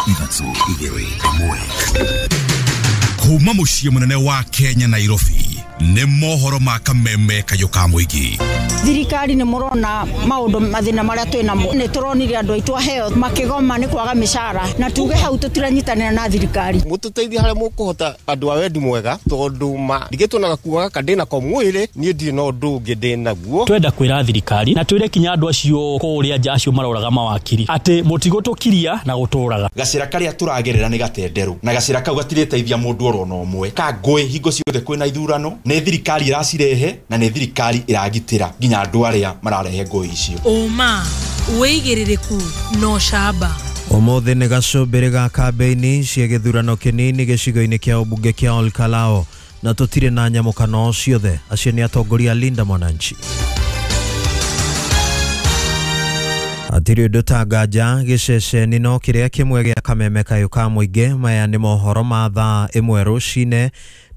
3 2 1. Kuma muciĩ mũnene wa Kenya, Nairobi, nĩ mohoro ma kameme kayũ ka mũingĩ. Thirikari nĩ mũrona maũndũ mathĩna marĩa twĩ namo. Nĩ tũronire andũ aitũ aheo makĩgoma nĩ kwaga mĩcara, na tuge hau tũtiranyitanĩra na thirikari. Mũtũteithie harĩa mũkũhota, andũ a wendi mwega, tondũ ma ndigĩtwo na gakuo gaka ndĩ nako mwĩrĩ, niĩ ndirĩ na ũndũ ũngĩ ndĩ naguo. Twenda kwĩra thirikari na twĩre kinya andũ acio kũrĩa nja, acio maroraga mawakiri, atĩ mũtigũtũkiria na gũtũraga. Gacĩra karĩa tũragerera nĩ gatenderũ, na gacĩra kau gatirĩteithia mũndũ oro na ũmwe. Ka ngũĩ hingo ciothe kwĩna ithurano, nĩ thirikari ĩracirehe na nĩ thirikari ĩragitĩra nginya andũ arĩa mararehe ngũĩ icio. Ũma, wĩigĩrĩrĩku na ũcamba. Ũmũthĩ nĩ gacũmbĩrĩ ga kambĩini cia gĩthurano kĩnini gĩcigo-inĩ kĩa ũmbunge kĩa Olkalao, na tũtirĩ na nyamũkano ciothe. Acio nĩ atongoria Linda Mwananchi. Hatirĩ ũndũ ta nganja gĩceceni no kĩrĩa kĩmwe gĩa kameme kayũ ka mũingĩ. Maya nĩ mohoro ma thaa 1 rũcinĩ,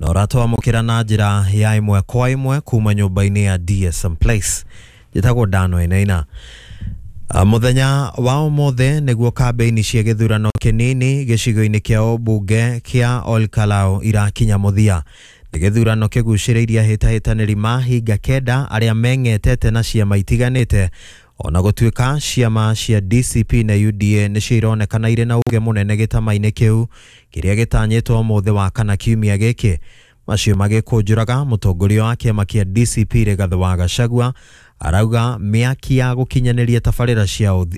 na ũratwamũkĩra na njĩra ya ĩmwe kwa ĩmwe kuma nyũmba-inĩ ya DSM Place. Njĩtagwo Dano Enaina. Mũthenya wa ũmũthĩ nĩguo kambĩini cia gĩthurano kĩnini gĩcigo-inĩ kĩa ũmbunge kĩa Olkalao irakinya mũthia. Nĩ gĩthurano kĩgucĩrĩirie ahĩtahĩtanĩri mahinga 9 arĩa meng'etete na ciama itiganĩte, ona gũtuĩka ciama cia DCP na UDA nĩcio ironekana irĩ na uge mũnene gĩtama-inĩ kĩu kĩrĩa gĩtanyĩtwo ũmũthĩ wa kana kiumia gĩkĩ. Macio magĩkũnjũraga, mũtongoria wa kĩama kĩa DCP Rigathĩ wa Gachagua arauga mĩaki ya gũkinyanĩria tabarĩra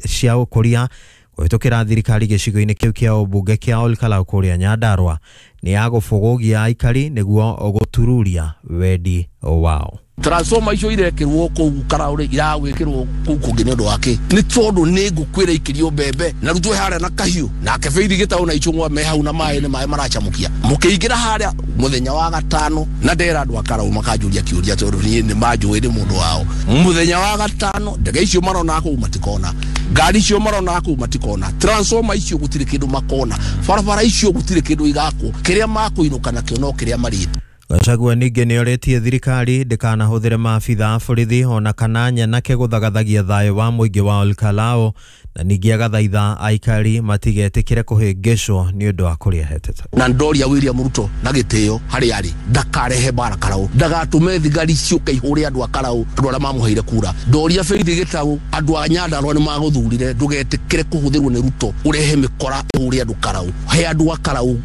cia ũkũria kũhĩtũkĩra thirikari gĩcigo-inĩ kĩu kĩa ũmbunge kĩa Olkalou kũrĩa Nyandarua nĩ ya gũbũgũgia aikari nĩguo gũtururia wendi wao. Transformer icio irekĩrwo kũu Karaũ iragwĩkĩrwo kũu kũngĩ nĩ ũndũ wa kĩ? Nĩ tondũ nĩ ngũkwĩra ikĩrio mbembe na rĩu twĩ harĩa na kahiũ nake Beithi Gĩtaũ na Ichung'wa me hau na maĩ nĩ maĩ maracamũkia. Mũkĩingĩra harĩa mũthenya wa gatano, na ndera andũ a Karaũ makanjũria kĩũria, tondũ niĩ nĩ manjũĩ nĩ mũndũ wao. Mũthenya wa gatano ndege icio marona kũu matikona, ngari icio marona kũu matikona, transformer icio gũtirĩ kĩndũ makona, barabara icio gũtirĩ kĩndũ igakwo. Kĩrĩa makũinũka nakĩo no kĩrĩa marĩte. Gachagua ningĩ nĩ orĩtie thirikari ndĩkanahũthĩre maabitha a borithi ona kana nyanake gũthagathagia thayũ wa mũingĩ wa Olkalou, na ningĩ agathaitha aikari matigetĩkĩre kũhĩngĩcwo nĩ ũndũ wa kũrĩa hetete. Na ndoria William Ruto na gĩtĩo harĩa arĩ ndakarehe mbara Karaũ, ndagatũme thigari ciũke ihũre andũ a Karaũ, andũ arĩa mamũheire kura. Ndoria Beithi Gĩtaũ, andũ a Nyandarua nĩ magũthurire, ndũgetĩkĩre kũhũthĩrwo nĩ Ruto ũrehe mĩkora ĩhũre andũ Karaũ. He andũ a Karaũ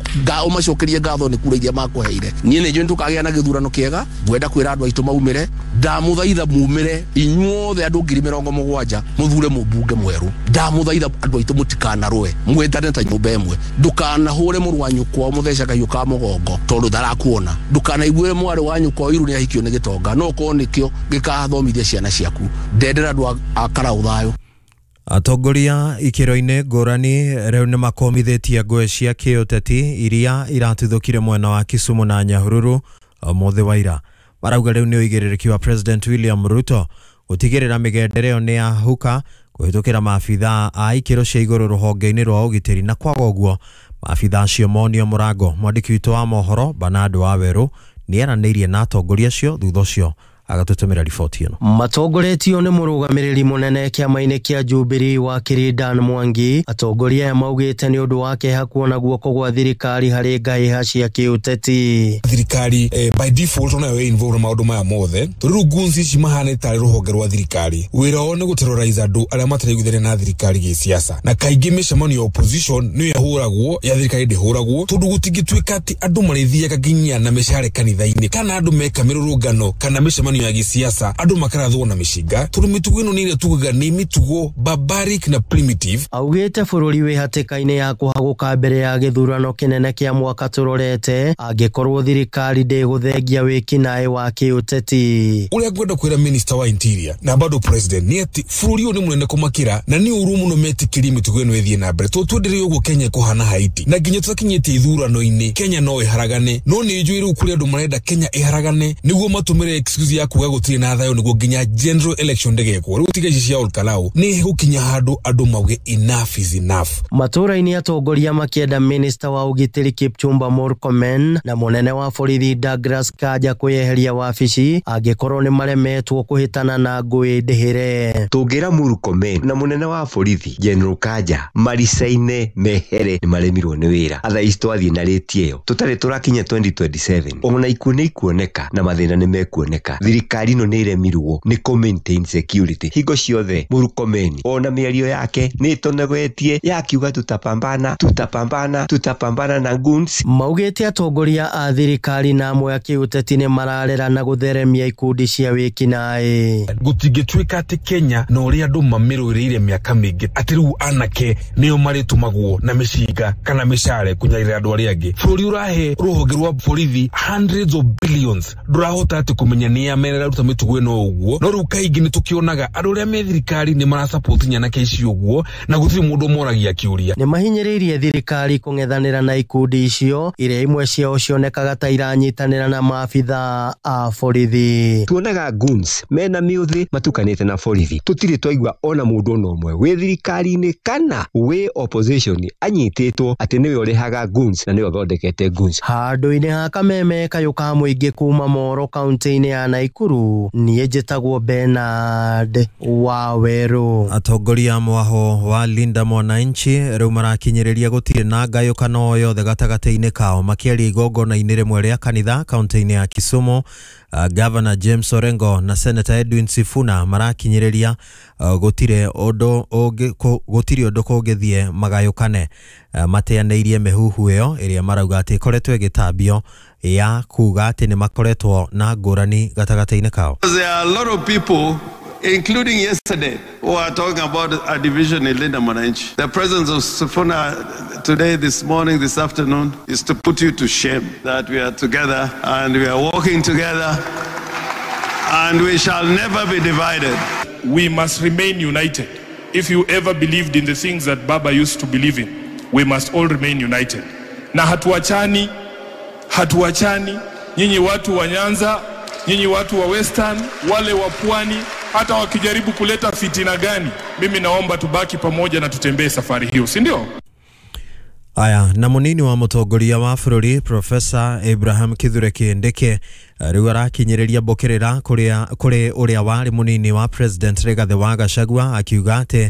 ũmacokerie ngatho nĩ kura iria makũheire. Niĩ nĩ njũĩ tũkagĩa na gĩthurano kĩega. Ngwenda kwĩra andũ aitũ maumĩre, ndamũthaitha mumĩre inyuothe andũ 70,000 mũthure mũmbunge mwerũ. Ndamũthaitha andũ aitũ mũtikanarũe, mwendane ta nyũmba ĩmwe. Ndũkanahũre mũrũ wa nyũkwa mũthece kahiũ ka mũgongo tondũ ndarakuona. Ndũkanaiguĩre mwarĩ wa nyũkwa iru nĩ ahikio nĩ gĩtonga, no ũkorwo nĩkĩo gĩkathomithia ciana ciaku. Ndendera andũ a Karaũ thayũ. Atongoria ikĩro-inĩ ngũrani rĩu nĩ makomithĩtie ngũĩ cia kĩũteti iria iratuthũkire mwena wa Kisumu na Nyahururu ũmũthĩ wa ira. Marauga rĩu nĩ ũigĩrĩrĩki wa President William Ruto gũtigĩrĩra mĩgendere ĩyo nĩ yahuka kũhĩtũkĩra maabitha a ikĩro cia igũrũ rũhonge-inĩ rwa ũgitĩri, na kwaga ũguo maabitha acio monio mũrango. Mwandĩki witũ wa mohoro Bernard Wawerũ nĩ aranĩirie na atongoria acio, thutha ũcio agatũtũmĩra riboti ĩno. Matongoretio nĩ mũrũgamĩrĩri mũnene kĩama-inĩ kĩa Jubilee wakiri Dan Mwangi, atongoria aya maugĩte nĩ ũndũ wa kĩeha kuona guoko gwa thirikari harĩ ngahĩha cia kĩũteti. Thirikari by default onayo ĩ involved na maũndũ maya mothe, tondũ rĩu goons ici mahanĩte tarĩ rũhonge rwa thirikari. Wĩra wao nĩ gũterrorize andũ arĩa mataraiguithania na thirikari gĩsiasa, na kaingĩ mĩcemanio ya opposition nĩyo ĩhũragwo, ya thirikari ndĩhũragwo, tondũ gũtingĩtuĩka atĩ andũ marĩthiaga nginya na mĩcare kanitha-inĩ, kana andũ meka mĩrũrũngano kana mĩcemanio ya gĩsiasa andũ makarathwo na mĩcinga, tondũ mĩtugo ĩno nĩ ĩrĩa tugaga nĩ mĩtugo barbaric na primitive. Augĩte bũrũri wĩ hatĩka-inĩ ya kũhagũka mbere ya gĩthurano kĩnene kĩa mwaka tũrorete angĩkorwo thirikari ndĩgũthengia wĩkinaĩ wa kĩũteti. Ũrĩa ngwenda kwĩra minister wa interior na bado president nĩ atĩ bũrũri ũyũ nĩ mũnene kũmakĩra, na nĩ ũru mũno metĩkĩrie mĩtugo ĩno ĩthiĩ na mbere, tondũ twendelee ũguo Kenya ĩkũhana Haiti, na nginya tũtakinyĩte ithurano-inĩ Kenya no ĩharagane. No nĩ njũĩ rĩu kũrĩ andũ marenda Kenya ĩharagane nĩguo matũmĩre excuse ya ya kuga gũtirĩ na thayũ nĩguo nginya general election ndĩgekwo. Rĩu tiga ici cia Olkalau nĩ gũkinya handũ andũ mauge enough is enough. Matũra-inĩ atongoria makĩenda minista wa ũgitĩri Kipchumba Murkomen na mũnene wa borithi Douglas Kanja kwĩyeheria wabici angĩkorwo nĩ maremetwo kũhĩtana na ngũĩ ndĩhĩre. Tũngĩra Murkomen na mũnene wa borithi General Kanja maricaine mehere nĩ maremirwo nĩ wĩra. Atha ici twathiĩ na rĩti ĩyo tũtarĩ tũrakinya 2027 ona ikuũ nĩ ikuoneka na mathĩna nĩ mekuoneka. Thirikari ĩno nĩ ĩremirwo nĩ kũ maintain security hingo ciothe. Murkomen ona mĩario yake nĩ ĩtonegetie yakiuga tutapambana tutapambana tutapambana na goons. Maugĩte atongoria a thirikari na amwe a kĩũteti nĩ mararera na gũtheremia ikundi cia wĩkinaĩ. Gũtingĩtuĩka atĩ Kenya na ũrĩa andũ mamĩrũĩrĩire mĩaka mĩingĩ atĩ rĩu anake nĩo marĩtũmagwo na mĩcinga kana mĩcare kũnyarira andũ arĩa angĩ. Bũrũri ũrahe rũhonge rwa borithi hundreds of billions ndũrahota atĩ kũmenya nĩa meraruta mĩtugo ĩno ũguo. No rĩu kaingĩ nĩ tũkĩonaga andũ arĩa me thirikari nĩ marasupport nyanake ici ũguo na gũtirĩ mũndũ moragia kĩũria. Nĩ mahinyĩrĩirie thirikari kũng'ethanĩra na ikundi icio iria imwe ciao cionekaga ta iranyitanĩra na maabitha a borithi. Tuonaga goons mena mĩũthĩ matukanĩte na borithi. Tũtirĩ twaigua ona mũndũ ona ũmwe wĩ thirikari-inĩ kana wĩ opposition anyitĩtwo atĩ nĩwe ũrĩhaga goons na nĩwe ũthondekete goons. Handũ-inĩ ha kameme kayũ ka mũingĩ kuma Moro kaunti-inĩ ya Naikuru, niĩ njĩtagwo Bernard Wawerũ. Atongoria mwaho wa Linda Mwananchi rĩu marakinyĩrĩria gũtirĩ na ngayũkano o yothe gatagatĩ-inĩ kao makĩaria igongona-inĩ rĩmwe rĩa kanitha kaunti-inĩ ya Kisumu. Governor James Orengo na Senator Edwin Sifuna marakinyĩrĩria gũtirĩ ũndũ kũngĩthiĩ magayũkane. Mateanĩirie mĩhuhu ĩyo ĩrĩa marauga atĩ ĩkoretwo ĩgĩtambio ya kuga atĩ nĩ makoretwo na ngũrani gatagatĩ-inĩ kao. There are a lot of people, including yesterday, who are talking about a division in Linda Mwananchi. The presence of Sifuna today, this morning, this afternoon, is to put you to shame that we are together and we are walking together and we shall never be divided. We must remain united. If you ever believed in the things that Baba used to believe in, we must all remain united. Na hatuachani, hatuachani. Nyinyi watu wa Nyanza, nyinyi watu wa Western, wale wa Pwani, hata wakijaribu kuleta fitina gani, mimi naomba tubaki pamoja na tutembee safari hiyo, si ndio? Aya, na munini wa mũtongoria wa bũrũri Professor Abraham Kithure Kindiki rĩu arakinyĩrĩria mbũkĩrĩra kũrĩ ũrĩa warĩ munini wa President Rigathi wa Gachagua akiuga atĩ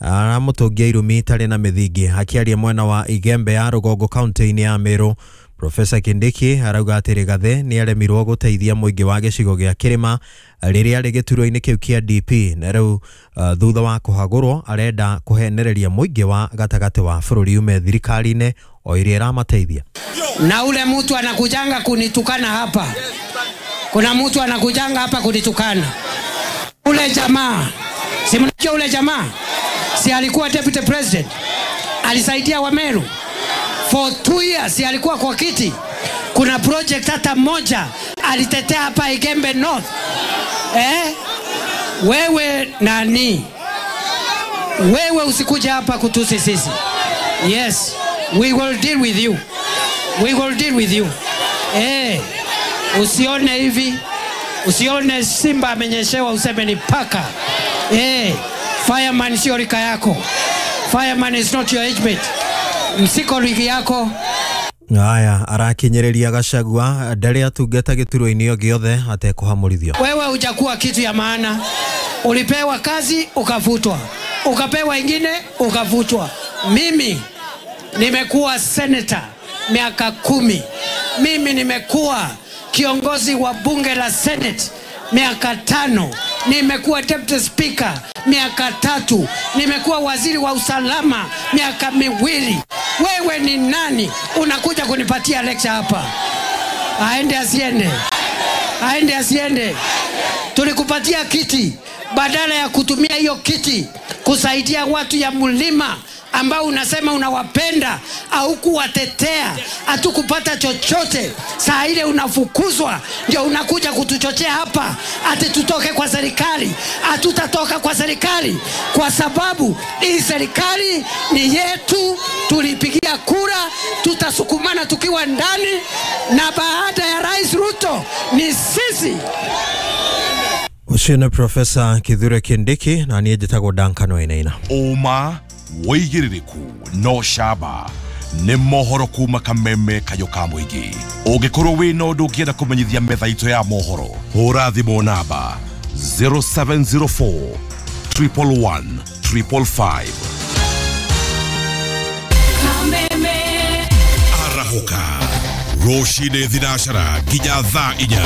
aramũtũngia irumi itarĩ na mĩthingi. Akĩaria mwena wa Igembe ya rũgongo kaunti-inĩ ya Meru, Professor Kindiki arauga atĩ Rigathi nĩ aremirwo gũteithia mũingĩ wa gĩcigo gĩa kĩrĩma rĩrĩa arĩ gĩturwa-inĩ kĩu kĩa DP na rĩu thutha wa kũhagũrwo arenda kũhenereria mũingĩ wa gatagatĩ wa bũrũri ume thirikari-inĩ o ĩrĩa ĩramateithia. Na ule mtu anakujanga kunitukana hapa, kuna mtu anakujanga hapa kunitukana, ule jamaa, si mnajua ule jamaa, si alikuwa deputy president, alisaidia Wameru for 2 years, si alikuwa kwa kiti. Kuna project hata moja alitetea hapa Igembe North? Wewe nani? Wewe usikuja hapa kutusi sisi. Yes, we will deal with you. We will deal with you. Usione hivi, usione simba amenyeshewa useme ni paka. Fireman sio rika yako. Fireman is not your age mate. Msiko ligi yako. Aya, arakinyĩrĩria Gachagua ndarĩ atungata gĩturwa-inĩ o gĩothe atekũhamũrithio. Wewe hujakuwa kitu ya maana. Ulipewa kazi ukafutwa, ukapewa ingine ukafutwa. Mimi nimekuwa senator miaka 10. Mimi nimekuwa kiongozi wa bunge la Senate miaka 5. Nimekuwa deputy speaker miaka 3. Nimekuwa waziri wa usalama miaka 2. Wewe ni nani unakuja kunipatia lecture hapa? Aende asiende? Aende asiende? Tulikupatia kiti, badala ya kutumia hiyo kiti kusaidia watu ya mlima ambao unasema unawapenda, au kuwatetea, hatukupata chochote. Saa ile unafukuzwa ndio unakuja kutuchochea hapa ati tutoke kwa serikali. Hatutatoka kwa serikali kwa sababu hii serikali ni yetu, tulipigia kura Tutasukumana tukiwa ndani, na baada ya Rais Ruto ni sisi. Ũcio nĩ Profesa Kithure Kindiki na niĩ njĩtagwo Duncan Wainaina. Ũma wĩigĩrĩrĩku no camba nĩ mohoro kuma kameme kayũ ka mũingĩ. Ũngĩkorwo wĩna ũndũ ũngĩenda kũmenyithia metha itũ ya mohoro, hũra thimũ namba 0704 111 555. Arahũka rũcinĩ thinacara nginya thaa 4.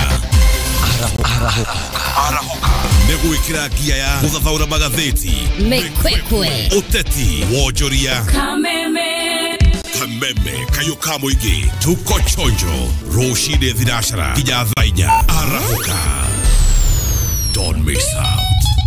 Arahũka nĩ gwĩkĩra ngia ya gũthathaũra magathĩti, Mĩkwekwe, ũteti, wonjoria, Kameme, kameme kayũ ka mũingĩ. Tuko chonjo rũcinĩ thinacara nginya thaa 4. Arahũka, don't mix up.